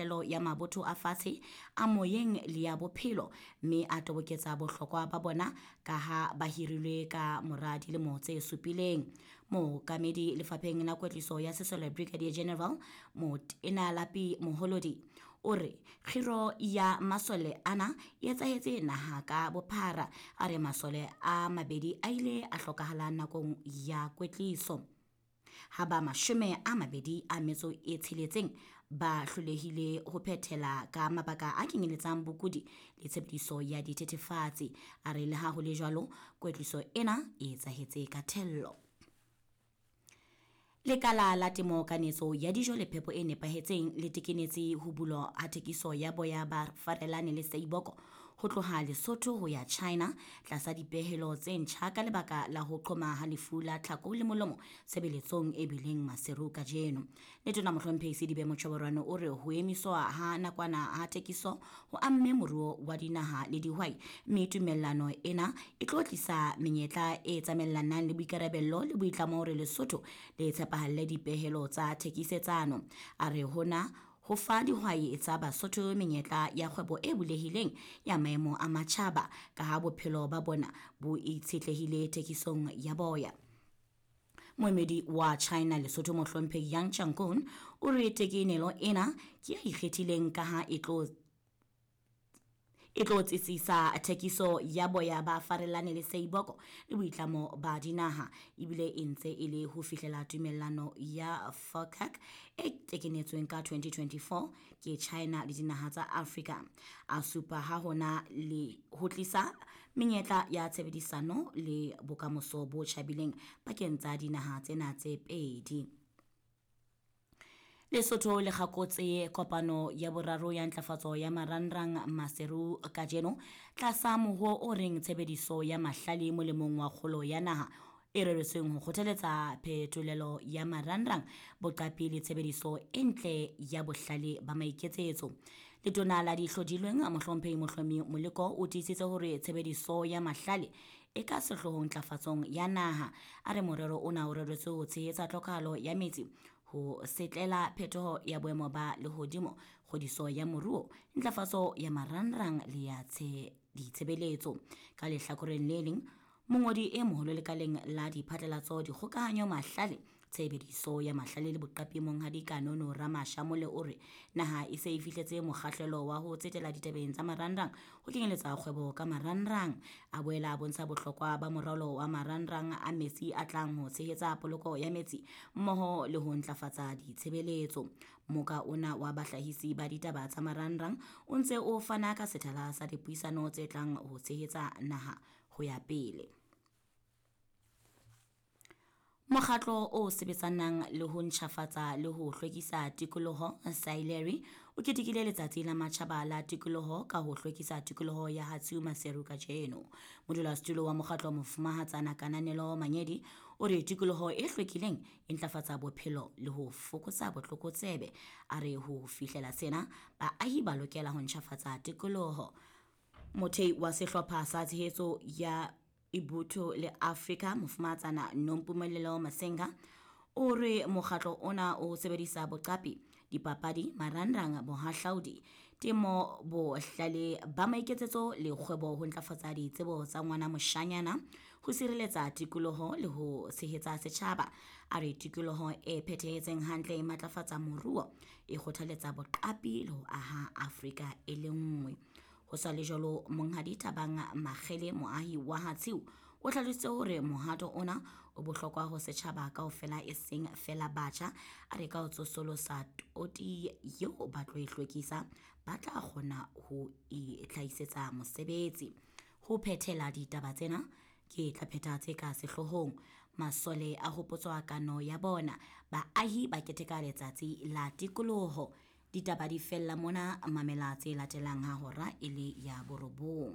mekgahlelo ya mabotho a fatshe, a moyeng le ya bophelo, mme a toboketsa bohlokwa ba bona ka ha ba hirilwe ka mora dilemo tse supileng. Mookamedi lefapheng la kwetliso ya sesole Brigadier General Motena Lapi Moholodi o re kgiro ya masole ana e etsahetse naha ka bophara. A re masole a mabedi a ile a hlokahala nakong ya kwetliso, ha ba 26 ba hlolehile ho phethela ka mabaka a kenyeletsang bokudi le tshebediso ya dithethefatsi. A re le ha ho le jwalo, kwetliso ena e etsahetse ka thello. Lekala la temo, kanetso ya dijo le phepo e nepahetseng le tekenetse ho bulwa ha thekiso ya boya ba farelane le seiboko ho tloha Lesotho ho ya China tlasa dipehelo tse ntjha ka lebaka la ho qhoma ha lefu la tlhako le molomo tshebeletsong e bileng Maseru kajeno. Letona Mohlomphehi Sedibe Mochoboroane o re ho emiswa ha nakwana ha thekiso ho amme moruo wa dinaha le dihwai, mme tumellano ena e tlo tlisa menyetla e tsamaellanang le boikarabello le boitlamo hore Lesotho le tshepahalle dipehelo tsa thekisetsano. A re hona ho fa dihwai tsa Basotho menyetla ya kgwebo e bulehileng ya maemo a matjhaba ka ha bophelo ba bona bo itshetlehile thekisong ya boya. Moemedi wa China Lesotho Mohlomphehi Yang Changkun o re tekenelo ena ke ya ikgethileng ka ha e tlo tsitsisa thekiso ya boya ba farelane le seiboko le boitlamo ba dinaha, ebile e ntse e le ho fihlela tumellano ya FOCAC e tekenetsweng ka 2024 ke China le dinaha tsa Afrika. A supa ha hona le ho tlisa menyetla ya tshebedisano le bokamoso bo tjhabileng pakeng tsa dinaha tsena tse pedi. Lesotho le kgakotse kopano ya boraro ya ntlafatso ya marangrang Maseru kajeno tlasa moho o reng tshebediso ya mahlale molemong wa kgolo ya naha e reretsweng ho kgothaletsa phetolelo ya marangrang, boqapi le tshebediso e ntle ya bohlale ba maiketsetso. Letona la dihlodilweng Mohlomphehi Mohlomi Moleko o tiisitse hore tshebediso ya mahlale e ka sehloohong ntlafatsong ya naha. A re morero ona o reretswe ho tshehetsa tlhokahalo ya metsi, ho setlela phetoho ya boemo ba lehodimo, kgodiso ya moruo, ntlafatso ya marangrang le ya ditshebeletso. Ka lehlakoreng le leng, mongodi e moholo lekaleng la diphatlalatso, dikgokahanyo, mahlale, tshebediso ya mahlale le boqapi Monghadi Kanono Ramashamole o re naha e se e fihletse mokgahlelo wa ho tsetela ditabeng tsa marangrang ho kenyeletsa kgwebo ka marangrang. A boela a bontsha bohlokwa ba moralo wa marangrang a metsi a tlang ho tshehetsa poloko ya metsi mmoho le ho ntlafatsa ditshebeletso. Moka ona wa bahlahisi ba ditaba tsa marangrang o ntse o fana ka sethala sa dipuisano tse tlang ho tshehetsa naha ho ya pele. Mokgatlo o sebetsanang le ho ntjhafatsa le ho hlwekisa tikoloho Sileri o ketekile letsatsi la matjhaba la tikoloho ka ho hlwekisa tikoloho ya Hatsiu Maseru kajeno. Modulasetulo wa mokgatlo Mofumahatsana Kananelo Manyedi o re tikoloho e hlwekileng e ntlafatsa bophelo le ho fokotsa botlokotsebe. A re ho fihlela sena baahi ba lokela ho ntjhafatsa tikoloho. Mothei wa sehlopha sa tshehetso ya Ibutho le Afrika Mofumahatsana Nompumelelo Masenga o re mokgatlo ona o sebedisa boqapi, dipapadi, marangrang, bohahlaudi, temo, bohlale ba maiketsetso le kgwebo ho ntlafatsa ditsebo tsa ngwana moshanyana, ho sireletsa tikoloho le ho tshehetsa setjhaba. A re tikoloho e phethahetseng hantle e matlafatsa moruo, e kgothaletsa boqapi le ho aha Afrika e le nngwe. Ho sa le jwalo, Monghadi Thabang Makgele, moahi wa Hatsiu, o hlalositse hore mohato ona o bohlokwa ho setjhaba kaofela e seng feela batjha. A re ka ho tsosolosa toti eo ba tlo e hlwekisa, ba tla kgona ho itlhahisetsa mosebetsi. Ho phethela ditaba tsena ke tla phetha tse ka sehloohong. Masole a hopotswa kano ya bona, baahi ba keteka letsatsi la tikoloho. Ditaba di fella mona, mamela tse latelang ha hora e le ya 9.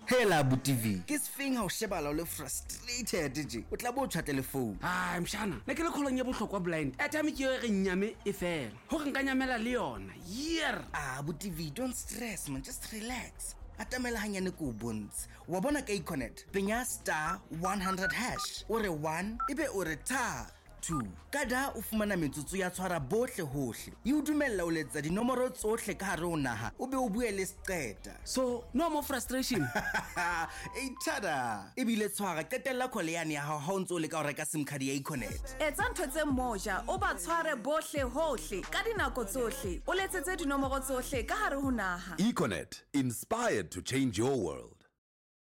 Hela abuti V, ke sefeng ha o shebala o le frustrated je? O tla bo o tjhwatle le phone. Ai mshana, ne ke le kgolong ya bohlokwa blind. Airtime ke yo e re nyame e fela. Hore nka nyamela le yona. Year. Ah, abuti V, don't stress man, just relax. Atamela hanyane ko o bontshe. Wa bona ka Econet, penya star 100 hash. O re 1, ebe o re tha. 2. Ka da o fumana metsotso ya tshwara bohle hohle. E o dumella ho letsa dinomoro tsohle ka hare ho naha o be o bue le seqeta. So no more frustration. Ei thada! Ebile tshwara, qetella call yane ya hao ha o ntse o leka ho reka sim card ya Econet. Etsa ntho tse moja, o ba tshware bohle hohle, ka dinako tsohle, o letsetse dinomoro tsohle ka hare ho naha. Econet, inspired to change your world.